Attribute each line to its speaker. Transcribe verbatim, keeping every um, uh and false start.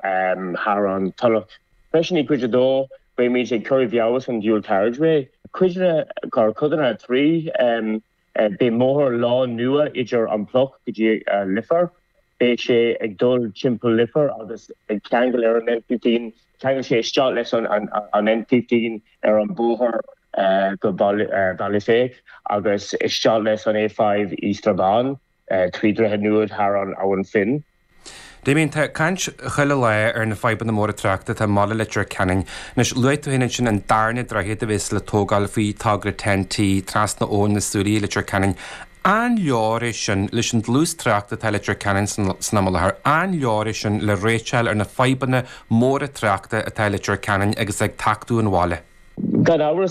Speaker 1: thar an Tulach. Freisin i cuid a dó beimid ag cur i bhfeabhas an dual carriageway. Cuideanna codanna trí beidh bóthar lán nua idir an Pluc go dtí Leifear. Beidh sé ag dul timpeall Leifear agus ag ceangal ar an N fifteen ceangal sé isteach leis an an N fifteen ar an bóthar go Baile Féich agus isteach leis an A five i Strabane trí droichead nua thar an Abhainn Finn.
Speaker 2: Damien, tá caint chuile lá ar na fadhbanna móra tráchta atá i mbaile Leitir Ceanainn. Anois luaigh tú féin ansin an darna droichead a bheas le tógáil faoi togra TEN-T trasna Abhainn na Súilí i Leitir Ceanainn. An leor é sin leis an dlús tráchta atá i Leitir Ceanainn san am i láthair, an leor é sin le réiteáil ar na fadhbanna móra tráchta atá i Leitir Ceanainn agus ag tachtadh an bhaile?
Speaker 1: Gan amhras